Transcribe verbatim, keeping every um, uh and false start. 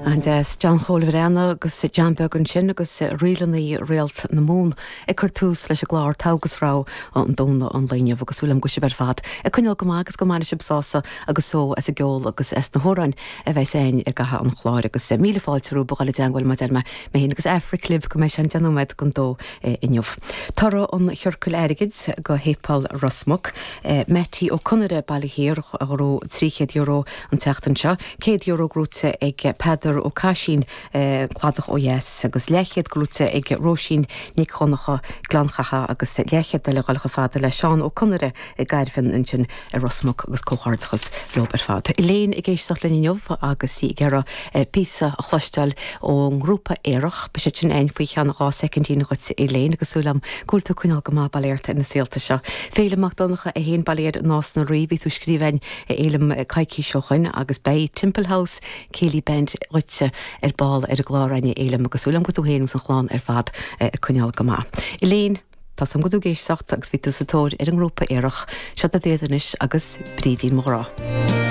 An-deas John Chóil Bhreanna agus John Beag ansin agus rílanna Réalt na Mumhan ag cur tús leis an gclár Togha agus Rogha an Domhnaigh an lae inniu agus súil agam go bhfuil sibh ar fad ag coinneáil go maith agus go mbainfidh sibh sásamh agus só as an gceol agus as na hamhráin a bheas againn i gcaitheamh an chláir agus míle fáilte romhaibh a dhul i dteagmháil mar a deir mé mé féin agus Aifric libh go mbeidh sé an deich nóiméad don dó inniu. Toradh an Chiorcail Airgid go Shéipéal Ros Muc, Mattie Ó Conaire Baile Thiar a ghnóthaigh trí chéad euro an tseachtain seo, céad euro gnóthaithe ag Peadar Ó Caisín Cladach ó dheas agus leathchéad gnóthaithe ag Róisín Nic Dhonncha Gleann Chatha agus leathchéad eile dhul chomh fada le Seán Ó Conaire i gCairfean ansin i Ros Muc agus comhghairdeachas leo ar fad. Elaine ag éisteacht linn inniu agus í ag iarraidh píosa a chloisteáil ón ngrúpa Aerach, beidh sé sin againn faoi cheann dhá soicindín dhuit Elaine agus súil agam go bhfuil tú ag coinneáil go maith bail ó Dhia ort ar na saolta seo. Féilim Mac Donncha é féin bail ó Dhia air i Nás na Rí, bhí tú ag scríobh againn a Fhéilim coicís ó shoin agus beidh Temple House Céilí Band dhuitse ar ball ar an gclár againn a Fhéilim agus súil agam go bhfuil tú féin agus an chlann ar fad ag coinneáil go maith. Elaine, Tá a fhios agam go bhfuil tú ag éisteacht agus bhí tú sa tóir ar an ngrúpa Aerach, seo iad anois agus Brídín mo ghrá.